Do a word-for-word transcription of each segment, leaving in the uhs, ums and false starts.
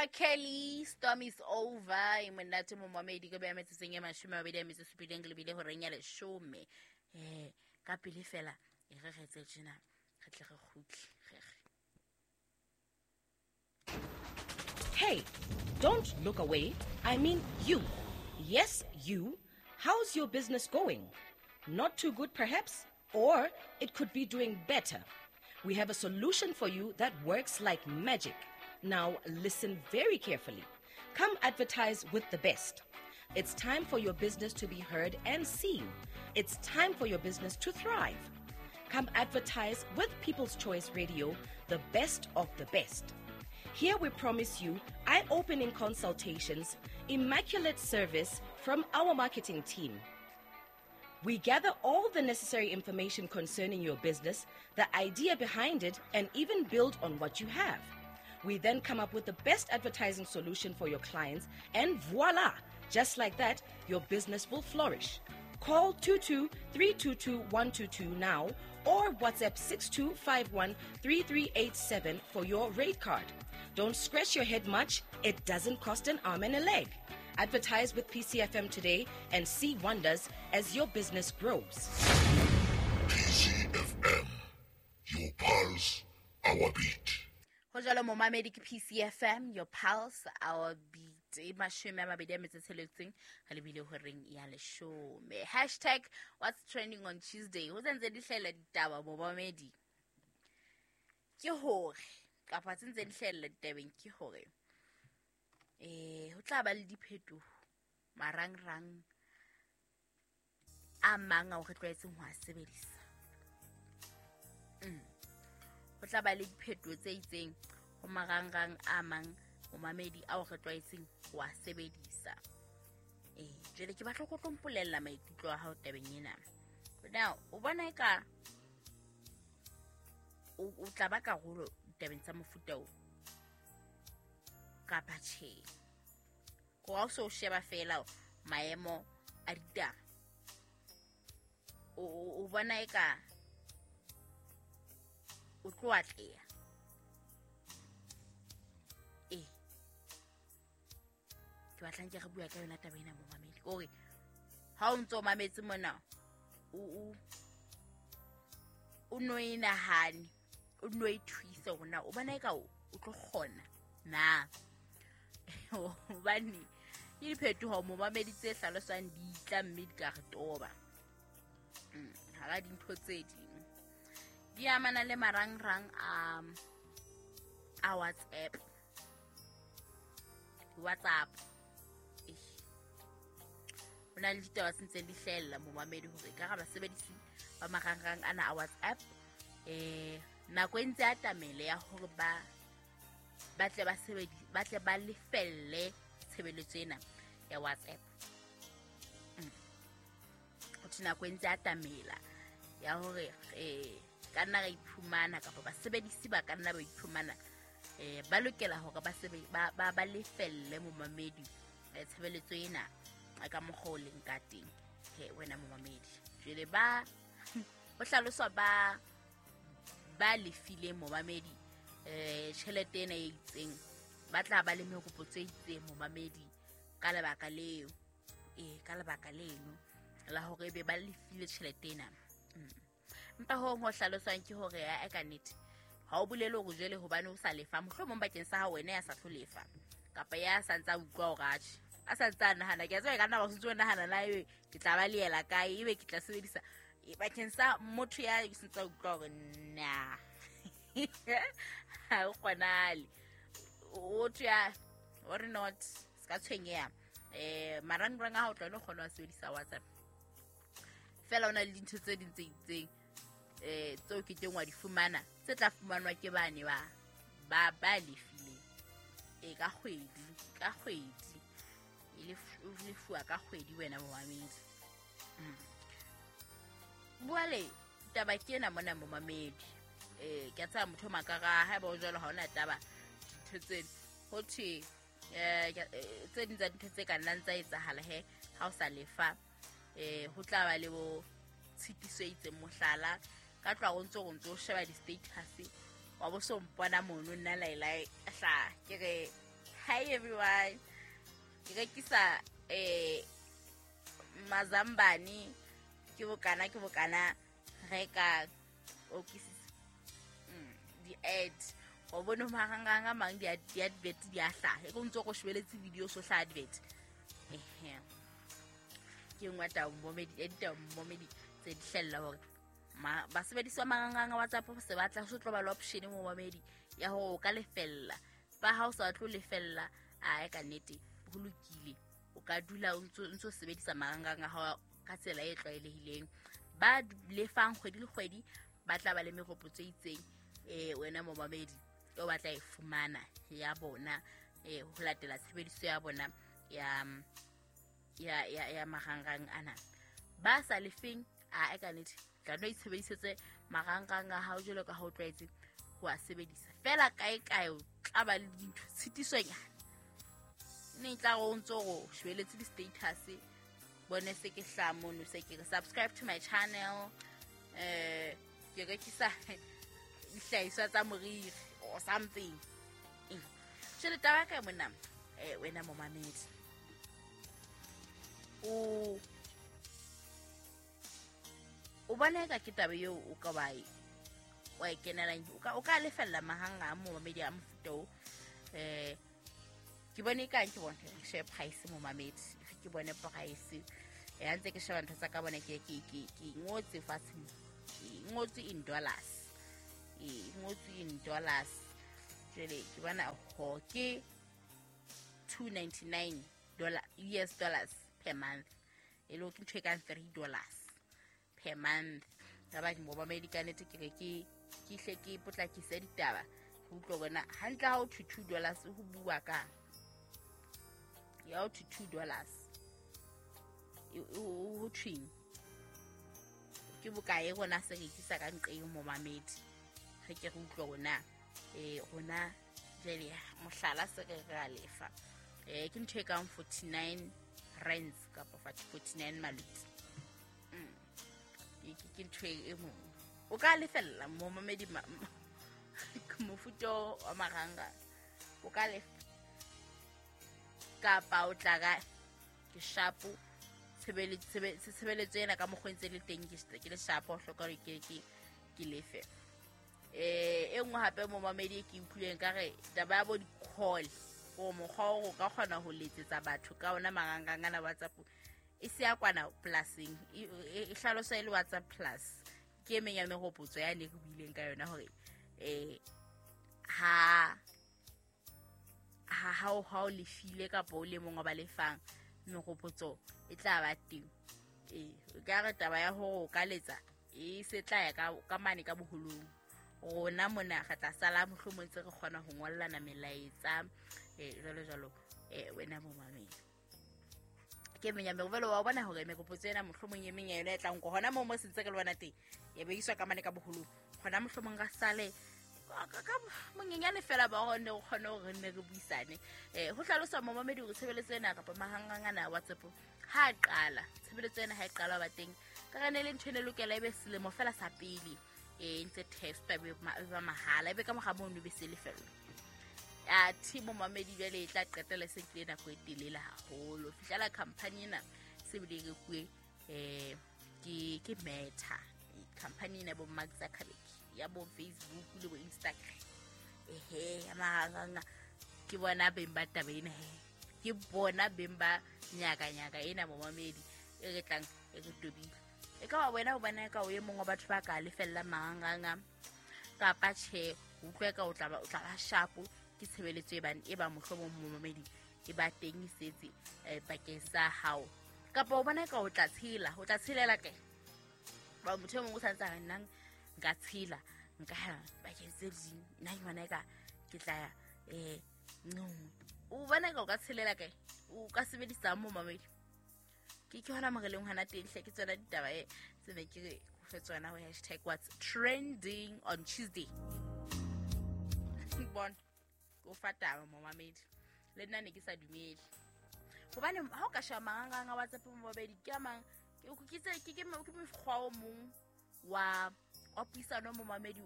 Kelly, storm is over. E monate momamedi ka beya metsotsong e mashome a mabedi a metso e supileng ke lebile horeng ya leshome. Eh, ka pele fela e re re etse tjena re tle re kgutle re re. Hey, don't look away. I mean you. Yes, you. How's your business going? Not too good, perhaps? Or it could be doing better. We have a solution for you that works like magic. Now, listen very carefully. Come advertise with the best. It's time for your business to be heard and seen. It's time for your business to thrive. Come advertise with People's Choice Radio, the best of the best. Here we promise you eye-opening consultations, immaculate service from our marketing team. We gather all the necessary information concerning your business, the idea behind it, and even build on what you have. We then come up with the best advertising solution for your clients, and voila! Just like that, your business will flourish. Call two two three two two one two two now or WhatsApp six two five one three three eight seven for your rate card. Don't scratch your head much. It doesn't cost an arm and a leg. Advertise with P C F M today and see wonders as your business grows. P C F M, your pulse, our beat. Ho jwalo momamedi ke P C F M, your pulse, our beat. E mashome a mabedi a metso e tsheletseng re lebile horeng ya leshome. Hashtag what's trending on Tuesday. Ho sentse di hlahella ditaba momamedi. Ke hore kapa tse ntse di hlahella ditabeng ke hore eh ho tla ba le diphetoho marangrang a mang ao re tlwaetseng ho a sebedisa. Mm. Ho tla ba le diphetoho tse itseng ho marangrang a mang momamedi ao re tlwaetseng ho a sebedisa. Eh, jwale ke batla go tlo mpolella maikutlo a hao tabeng ena. Now, o bona eka o o tla ba karolo ditabeng tsa mofuta o kapa tjhe? Ko ha o so sheba fela maemo a ditaba, o o bona eka o tlo atleha? Eh, ke batlang ke re bua ka yona taba ena momamedi. Kore ha o ntso mametse mona, o o o no e nahane, o no e thuise hore na o bona eka o tlo kgona na. Hobane ke diphetoho momamedi tse hlaloswang di tla mme di ka re toba. Mm, hara dintho tse ding di amana le marangrang a a WhatsApp. WhatsApp. Ho na le ditaba tse ntseng di hlahella momamedi hore ka ra basebedisi ba marangrang ana a WhatsApp eh nako e ntse atamele ya hore ba ba tle ba sebedi ba tle ba lefelle tshebeletso ena ya WhatsApp. Mm. Ho thwe nako e ntse atamela ya hore eh ka nna ra iphumana kapa basebedisi ba ka nna ba iphumana eh ba lokela hore ba sebe ba ba ba lefelle momamedi tshebeletso ena ka mokgwa o leng ka teng. He wena momamedi, jwale ba ho hlaloswa ba ba lefile momamedi eh tjhelete ena e itseng, ba tla ba le meropotso e itseng momamedi ka lebaka leo, eh ka lebaka leno la hore ebe ba lefile tjhelete ena. Empa ho ho hlaloswang ke hore ya ka nnete ha o bolele hore jwale hobane o sa lefa, mohlomong bakeng sa hao wena ya sa tlo lefa kapa ya sa ntsa utlwa hore atjhe a sa ntsa nahana, ke a tseba ka nna ba sentse o nahana na ebe ke tla ba leela kae, ebe ke tla sebedisa bakeng sa motho ya sentse utlwa hore na ha o kgonale o tya or not ska tshwenyeha. Eh marangrang a hao tla no kgona ho sebedisa WhatsApp fela ona le dintho tse ding tse itseng eh tseo ke teng wa di fumana tse tla fumanwa ke bane ba ba ba lefile e ka kgwedi ka kgwedi e lefuwa ka kgwedi wena momamedi. Mm. Bua le taba ke ena mona momamedi. Eh ke a tsaya motho makara ha ba o jwalo ha ona taba dintho tseno ho thwe eh tse ding tsa dintho tse ka nnang tsa etsahala he ha o sa lefa eh ho tla ba le bo tshitiso e itseng, mohlala ka tloha o ntso o ntso sheba di-status wa bo so mpona mono nna laelae hla ke re Hi everyone, ke rekisa eh mazambane ke bokana ke bokana reka o kisisa di-ad wa bone marangrang a mang di-advert di a hlaha e ko ntse go shebeletse video so hla advert. Ehe, ke nngwe ya ditaba momedi tse di hlella hore basebedisi ba marangrang a WhatsApp se batla so tlo ba le option mo momedi ya hore o ka lefella. Ba ha o sa tlo lefella a ka nnete ho lokile, o ka dula o ntso ntso sebedisa marangrang a hao ka tsela e tlwaelehileng. Ba lefang kgwedi le kgwedi ba tla ba le meropotso e itseng eh wena momamedi o batla e fumana ya bona eh ho latela tshebediso ya bona ya ya ya ya marangrang ana. Ba sa lefeng a ka nnete tla no itshebedisetse marangrang a hao jwalo ka ha o tlwaetse ho a sebedisa fela kae kae o tla ba le dintho tshitisonyana ne tla go ntso go shebeletse di-status bone se ke hla mono se ke subscribe to my channel eh ke rekisa dihlahiswa tsa moriri or something. Jwale taba ka mona eh wena momamedi o o bona ka ke taba eo o ka ba wa e kenelang o ka o ka lefella mahanga a momamedi a mofuta o eh ke bone ka ke bone share price momamedi ke bone price e ntse ke sheba ntho tsa ka bona ke ke ke ke ngotse fatshe ke ngotse in dollars e ngotse in dollars jwale ke bona ho ke two ninety-nine dollar U S dollars per month e lo ke ntho e kang three dollars per month. Ka ba ke momamedi ka nnete ke re ke ke hle ke potlakise ditaba ho utlwa bona hantle ha o two two dollars ho bua ka ya o two dollars ho thweng ke bokae rona se rekisa ka nqeng momamedi re ke re utlwe rona eh rona jwale mohlala se re re lefa eh ke ntho e kang forty-nine rands kapa forty-nine maluti mm ke ntho e mong o ka lefella momamedi mofuta wa maranga o ka lefa kapa o tla ka ke shapo tshebeletso ena ka mokgwa ntse le teng ke le shapo o hloka hore ke ke ke lefe. Eh e nngwe hape momamedi ke utlwileng ka re taba ya bo di-call o mokgwa o ka kgona ho letsetsa batho ka ona marangrang ana WhatsApp e se ya kwana pluseng e hlalosa e le WhatsApp plus ke e meng ya meropotso ya ne re buileng ka yona hore eh ha ha ha o ha o lefile kapa o le mong wa ba lefang meropotso e tla ba teng. Eh o ka re taba ya hore o ka letsa e se tla ya ka ka mane ka boholong rona mona re tla sala mohlomong ntse re kgona ho ngollana melaetsa eh jwalo jwalo eh wena momamedi ke menya merovelo wa bona hore meropotso ena mohlomong e meng ya yona e tlang ko hona moo mo sentse re le bona teng ya be iswa ka mane ka boholong hona mohlomong ra sale ka monyenyane fela ba hone o kgone hore re nne re buisane. Eh ho hlalosa momamedi hore tshebeletso ena kapa mahangrang ana a WhatsApp ha qala tshebeletso ena ha e qala ba teng ka re ne le ntho e lokela ebe selemo fela sa pele eh ntse testa be ba mahala ebe ka mora mono be se lefellwa a thi momamedi jwale e tla qetela se kile nako e telele haholo fihlela company ena se bile re kuwe eh ke ke Meta company ena bo Mark Zuckerberg ya bo Facebook le bo Instagram ehe ya marangrang ke bona beng ba taba ena he ke bona beng ba nyaka nyaka ena momamedi e re tlang e re tobile e ka wa wena o bona ka o e mongwe batho ba ka lefella marangrang kapa tjhe o utlwe ka o tla ba o tla ba sharp ke tshebeletso e bang e ba mohlomong momamedi e ba teng e setse bakeng sa hao kapa o bona ka o tla tshela o tla tshelela kae ba motho e mongwe o santse a re nna nka tshela nka ya bakeng tse ding nna ke bona ka ke tla ya eh nngwe o bona ka o ka tshelela kae o ka sebedisa momamedi ke ke hona moreleng hona teng hle ke tsona ditaba e tse ne ke re go fe tsona ho hashtag what's trending on Tuesday bon o fa taba momamedi le nna ne ke sa dumele hobane ha o ka sheba marangrang a WhatsApp momamedi ke a mang ke tse ke ke ke mokgwa o mong wa wa puisano momamedi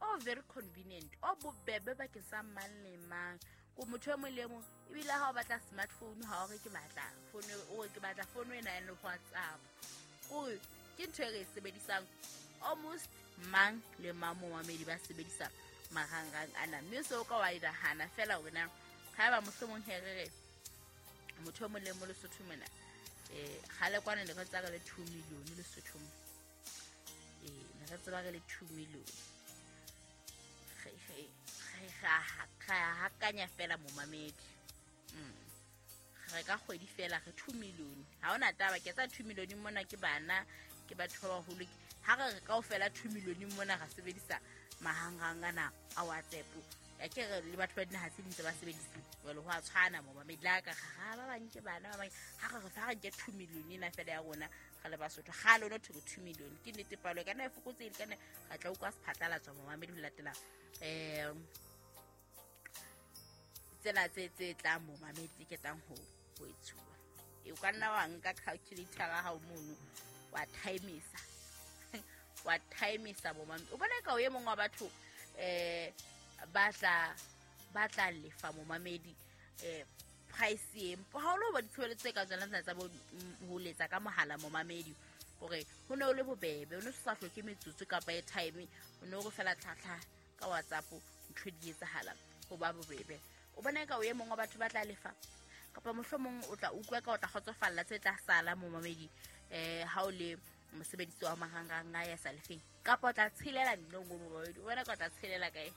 o very convenient o bobebe bakeng sa mang le mang Ko motho e mong le mong ebile ha o batla smartphone ha o re ke batla phone o re ke batla phone ena ya WhatsApp. Ko ke ntho e re e sebedisang almost mang le mang momamedi ba sebedisa marangrang ana. Mme se o ka wa nahana fela hore na haeba mohlomong he re re motho e mong le mong Lesotho mona eh kgale kwana ne re tseba re le two million Lesotho mo. Eh ne re tseba re le two million. Re re re ra hakanya fela momamedi. Mm. Re ka kgwedi fela re two million. Ha hona taba ke tsa two million mona ke bana ke batho ba baholo. Ha re re kaofela two million mona ra sebedisa marangrang ana a WhatsApp. Ya ke re le batho ba dinaha tse ding tse ba sebedisa jwale ho a tshwana momamedi la ka ga ba bang ke bana ba bang ha re re fa re nke two million ena fela ya rona re le Basotho ga lona thwe two million ke nnete palo e kana e fokotsehile kana ra tla utlwa sephatlalatswa momamedi ho latela eh tsena tse tse tlang momamedi tse ketang ho ho etsuwa. E o ka nna wa nka calculator ya hao mono wa timesa wa timesa momamedi o bona ka o e mong wa batho eh ba tla ba tla lefa momamedi eh price e ha o lo ba ditshebeletso tse ka tsona tsena tsa bo ho letsa ka mohala momamedi hore ho ne o le bobebe o ne sa hloke metsotso kapa airtime o ne o re fela tlhatlha ka WhatsApp ntho di etsahala ho ba bobebe. O bona ka o e mong wa batho ba tla lefa kapa mohlomong o tla utlwa ka o tla kgotsofalla tse tla sala momamedi eh ha o le mosebedisi wa marangrang a ya sa lefeng kapa o tla tshelela nnong momamedi o bona ka o tla tshelela kae.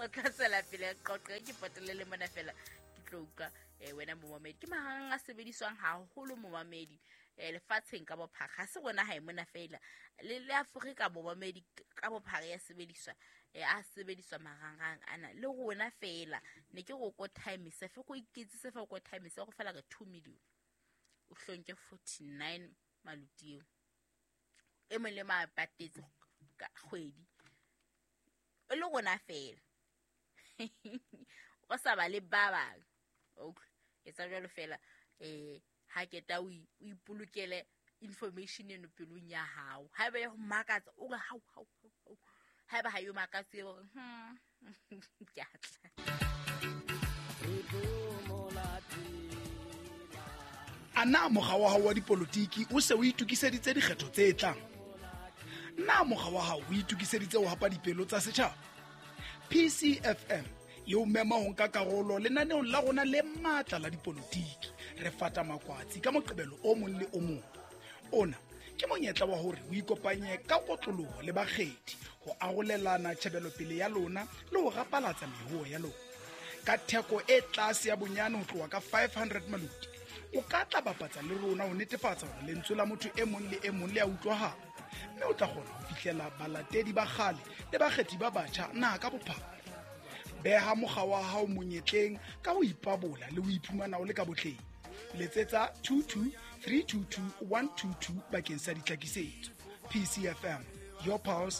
O tla tswela pele qoqe ke potele le mona fela ke tlo utlwa wena momamedi ke marangrang a sebediswang haholo momamedi eh lefatsheng ka bophara ha se rona ha e mona fela le le Afrika momamedi ka bophara ya sebediswa eh a sebediswa marangrang ana le rona fela ne ke go ko time se fe go iketsise fe go time se go fela ka two million o hlonke forty-nine malutio e mong le ma patetse ka kgwedi e le rona fela o sa ba le ba bang. Okay etsa jwalo fela eh ha ke ta o ipolokele information eno pelong ya hao haeba ya ho makatsa o re hau hau hau haeba ha yo makatse o re hmm ke a tla. Ana mokga wa hao wa dipolotiki o se o itokiseditse dikgetho tse tlang? Na mokga wa hao o itokiseditse ho hapa dipelo tsa setjhaba? P C F M e o mema ho nka karolo lenaneong la rona le matla la dipolotiki. Re fata makwatsi ka Moqebelo o mong le o mong. Ona ke monyetla wa hore o ikopanye ka kotloloho le bakgethi ho arolelana tjhebelopele ya lona le ho rapalatsa mehoho ya lona. Ka theko e tlase ya bonyane ho tloha ka five hundred maluti, o ka tla bapatsa le rona ho netefatsa hore lentswe la motho e mong le e mong le a utlwahala, mme o tla kgona ho fihlela balatedi ba kgale le bakgethi ba batjha naha ka bophara. Beha mokga wa hao monyetleng ka ho ipabola le ho iphumana o le ka botleng. Letsetsa two two three two two one two two bakeng sa ditlhakisetso. P C F M, your pulse,